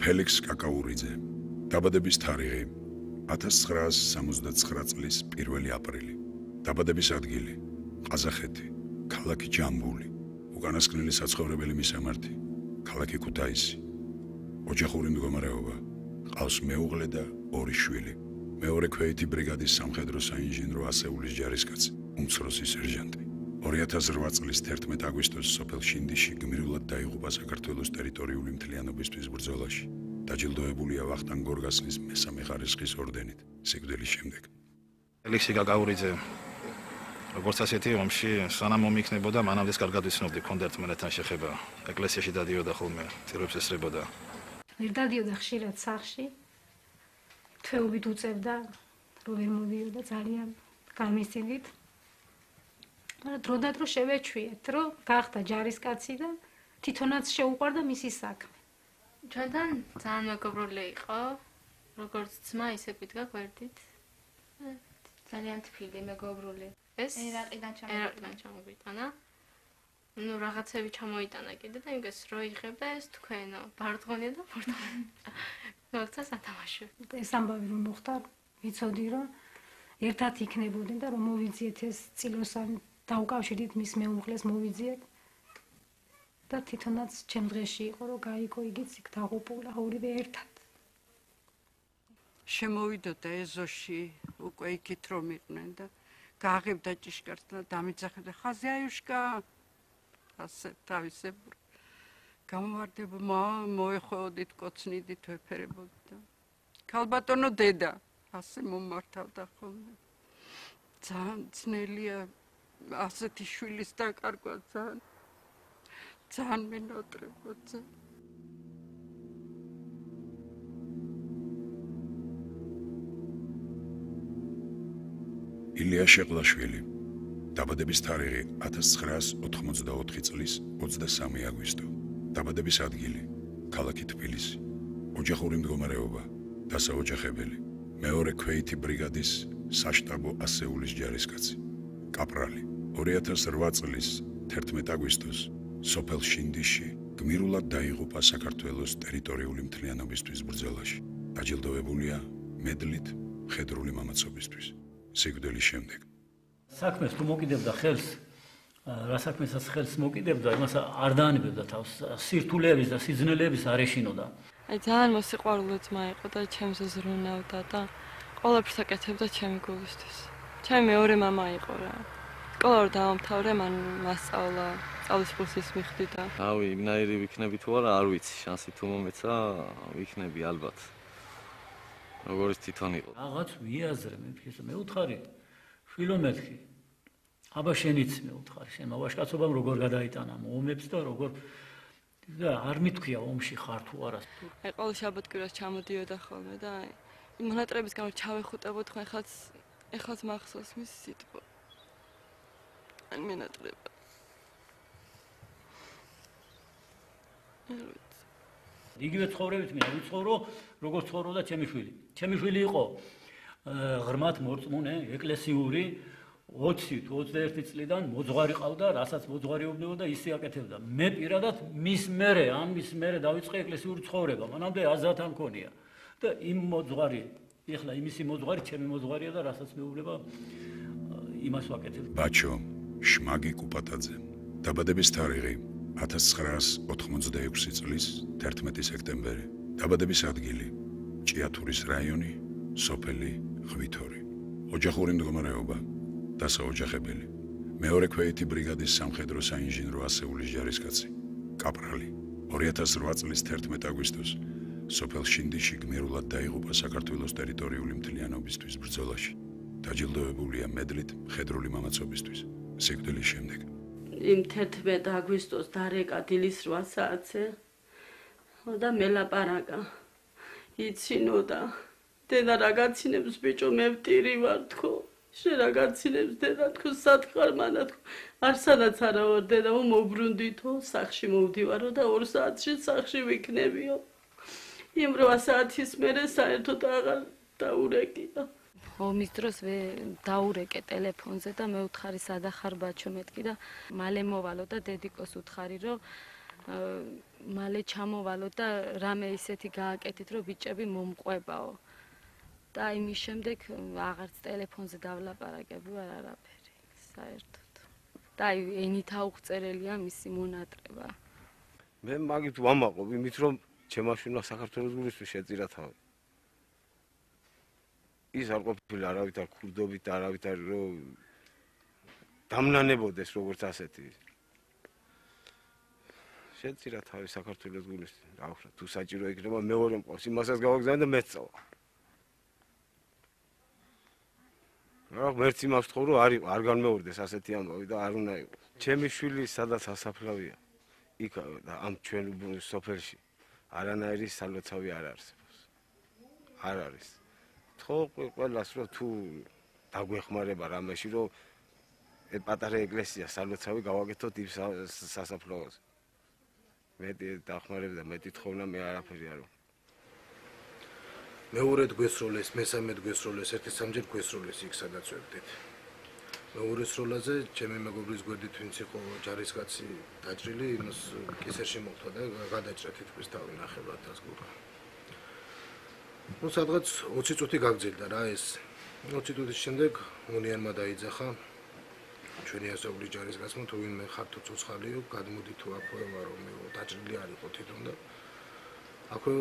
ფელიქს კაკაურიძე. დაბადების თარიღი 1969 წლის 1 აპრილი. დაბადების ადგილი ყაზახეთი, ქალაქი ჯამბული. უკანასკნელი საცხოვრებელი მისამართი ქალაქი ქუთაისი. ოჯახური მდგომარეობა ყავს მეუღლე და 2 შვილი. მეორე ქვეითი ბრიგადის სამხედრო საინჟინრო ასეულის ჯარისკაცი, უმცროსი სერჟანტი. 2008 წლის 11 აგვისტოს სოფელ შინდიში გმირულად დაიღუპა საქართველოს ტერიტორიული მთლიანობისთვის ბრძოლაში. დაჯილდოებულია ვახტანგ გორგასლის მესამე ხარისხის ორდენით სიკვდილის შემდეგ. ფელიქსი კაკაურიძე როგორც ასეთი ომში სანამ მომიქნებოდა მანამდე კარგად ვიცნობდი, ქონდა ერთმანეთთან შეხება. ეკლესიაში დადიოდა ხოლმე, წირვებს ესწრებოდა. ვერ დადიოდა ხშირად სახლში. თვეობით უწევდა, რომ ვერ მოდიოდა ძალიან გამისცინით. მაგრამ დროდადრო შევეჩვიეთ, რომ გახდა ჯარისკაცი და თვითონაც შეუყვარდა მისი საქმე. ჩვენთან ძალიან მეგობრული იყო, როგორც ძმა, ისე ვიდგა გვერდით. ძალიან თბილი მეგობრული. ეს ერაყიდან ჩამოვიტანა. ნუ რაღაცები ჩამოიტანა კიდე და იმას რო იღებდა ეს თქვენო, ბარდღონია და ბორდღონია. ნორცა სათამაშო. ეს ამბავი რომ მოხდა, ვიცოდი რომ ერთად იქნებოდნენ და რომ მოვიძიეთ ეს წილოსან დაუკავშირდით მის მეუღლეს მოვიძიეთ. და თვითონაც ჩემ დღეში იყო რომ გაიგო იგიც იქ დაღუპულა ორივე ერთად. შემოვიდოდა ეზოში უკვე იქით რომ იყვნენ და გააღებდა ჭიშკარს და დამიძახებდა ხაზი აიუშკა ასე თავისებურ გამოვარდება მოეხვეოდით კოცნიდით ვეფერებოდი და ქალბატონო დედა ასე მომართავდა ხოლმე ძალიან ძნელია ასეთი შვილის დაკარგვა ძალიან მენატრებოდი ილია შეყლაშვილი. დაბადების თარიღი 1984 წლის 23 აგვისტო. დაბადების ადგილი ქალაქი თბილისი. ოჯახური მდგომარეობა დასაოჯახებელი. მეორე ქვეითი ბრიგადის საშტაბო ასეულის ჯარისკაცი. კაპრალი. 2008 წლის 11 აგვისტოს სოფელ შინდიში გმირულად დაიღუპა საქართველოს ტერიტორიული მთლიანობისთვის ბრძოლაში. დაჯილდოებულია მედლით მხედრული მამაცობისთვის. სიკვდილის შემდეგ. საქმეს თუ მოკიდებდა ხელს, რა საქმესაც ხელს მოკიდებდა, იმას არ დაანებებდა თავს, სირთულეების და სიძნელეების არ ეშინოდა. აი ძალიან მოსიყვარულე ძმა იყო და ჩემს ზრუნავდა და ყველაფერს აკეთებდა ჩემი გულისთვის. ჩემი მეორე მამა იყო რა. სკოლა რომ დავამთავრე, მან მასწავლა, სწავლის კურსის მიხდი და რავი, იმნაირი ვიქნები თუ არა, არ ვიცი, შანსი თუ მომეცა, ვიქნები ალბათ. როგორც თვითონ იყო. რაღაც ვიაზრე მე უთხარი შვილო მეთქი. აბა შენიც მე უთხარი, შენ მოვაშკაცობამ როგორ გადაიტანა ომებს და როგორ და არ მithქვია ომში ხარ თუ არა. აი ყოველ შაბათ-კვირას ჩამოდიოდა ხოლმე და აი იმ მონატრების გამო ჩავეხუტებოდ ხო ეხლაც მახსოვს მის სიტყვა. ან მონატრება. იგივე ცხოვრებით მე ვიცხოვრო, როგორც ცხოვრობდა ჩემი შვილი. ჩემი შვილი იყო ღრმად მორწმუნე, ეკლესიური 20 თუ 21 წლიდან მოძღვარი ყავდა, რასაც მოძღვარიობდა და ისე აკეთებდა. მე პირადად მის მერე დავიწყე ეკლესიური ცხოვრება. მანამდე აზრად არ მქონია. და იმ მოძღვარი, ეხლა იმისი მოძღვარი, ჩემი მოძღვარია და რასაც მეუბნება იმას ვაკეთებ. ბაჩო შმაგი კუპატაძე. დაბადების თარიღი 1986 წლის 11 სექტემბერი. დაბადების ადგილი ჭიათურის რაიონი, სოფელი ღვითორი. ოჯახური მდგომარეობა დასაოჯახებელი. მეორე ქვეითი ბრიგადის სამხედრო საინჟინრო ასეულის ჯარისკაცი. კაპრალი. 2008 წლის 11 აგვისტოს სოფელ შინდიში გმირულად დაიღუპა საქართველოს ტერიტორიული მთლიანობისთვის ბრძოლაში. დაჯილდოებულია მედლით მხედრული მამაცობისთვის. სიკვდილის შემდეგ. იმ 11 აგვისტოს დარეკა დილის 8 საათზე და მელაპარაკა იცინოდა დედა რაღაცინებს ბიჭო მე ვტირი ვარ თქო შენ რაღაცინებს დედა თქო სათხარ მანა თქო არსანაც არა ვარ დედა მობრუნდითო სახში მოვდივარო და 2 საათში სახში ვიქნებიო იმ 8 საათის მერე საერთოდ აღარ დაურეკია ომის დროს დაურეკე ტელეფონზე და მე უთხარი სადახარ ბაჩო მეთქი და მალე მოვალო და დედიკოს უთხარი რომ მალე ჩამოვალოთ და რამე ისეთი გააკეთეთ, რომ ბიჭები მომყვებაო. და იმის შემდეგ აღარც ტელეფონზე დავლაპარაკები ვარ არაფერი, საერთოდ. და აი ენით აუღწერელია მისი მონატრება. მე მაგით ვამაყობ, იმით რომ ჩემაშვილმა საქართველოს გულისთვის შეწირა თავი. ის არ ყოფილა არავითარ ქურდობით, არავითარ რომ დამნანებოდეს როგორც ასეთი. შეწირა თავი საქართველოს გულისთვის. რა ვქნა, თუ საჭირო იქნება მეორე მყავს, იმასაც გავაგზავნე და მეც წავა. რა ღმერთი მას თხოვ რომ არ განმეორდეს ასეთი ამბავი და არ უნდა იყოს. ჩემი შვილი სადაც ასაფლავია. იქ ამ ჩვენ სოფელში არანაირი სალოცავი არ არსებობს. არ არის. თქო ყველას რომ თუ დაგვეხმარება რამეში რომ პატარა ეკლესია სალოცავი გავაკეთოთ იმ სასაფლაოზე. მეტი დახმარება და მეტი თხოვნა მე არაფერი არ ვქნა. მეორედ გვესროლეს, მესამედ გვესროლეს, ერთი სამჯერ გვესროლეს იქ სადაც ვებდით. მეორე სროლაზე ჩემი მეგობრის გვერდით ვინც იყო ჯარისკაცი დაჭრილი, იმას კისერში მოხდა და გადაჭრა თითქმის თავი ნახევრადაც გურა. სადღაც 20 წუთი გაგრძელდა რა ეს. 20 წუთის შემდეგ უნიანმა დაიძახა ჩვენი ასაურის ჯარისკაცმა თუ ვინმე ხართო ცოცხალიო, გადმოდი თუ აქვე ვარო, მე დაჭრილი არ იყო თვითონ და აქვე